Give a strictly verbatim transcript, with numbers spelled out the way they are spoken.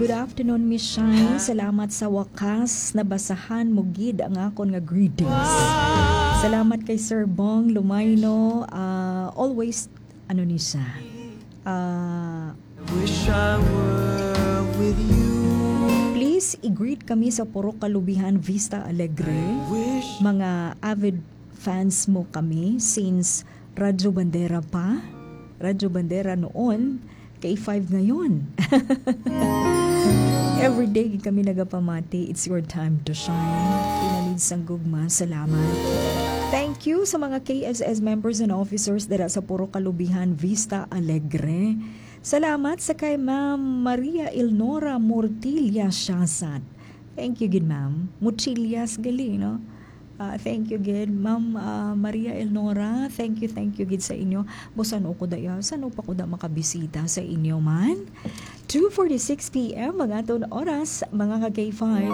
Good afternoon, Miss Shine. Salamat, sa wakas nabasahan mo gid ang akon nga greetings. Salamat kay Sir Bong Lumayno. Ah, always, ano ni siya? Ah, Wish I were with you. Please i-greet kami sa Purok Kalubihan, Vista Alegre. Wish Mga avid fans mo kami since Radyo Bandera pa. Radyo Bandera noon, K five ngayon. Every day kami nagapamati, it's your time to shine. Pinalid sang gugma, salamat. Thank you sa mga K S S members and officers dira sa Purok Kalubihan, Vista Alegre. Salamat sa kay Ma'am Maria Elnora Mortilia Siasat. Thank you gid, ma'am. Muchilias gali, no? Ah, thank you gid, Ma'am, ah, Maria Elnora. Thank you, thank you gid sa inyo. Busan ko da, san pa ko da makabisita sa inyo man. Two forty-six p m ang aton oras, mga ka K five.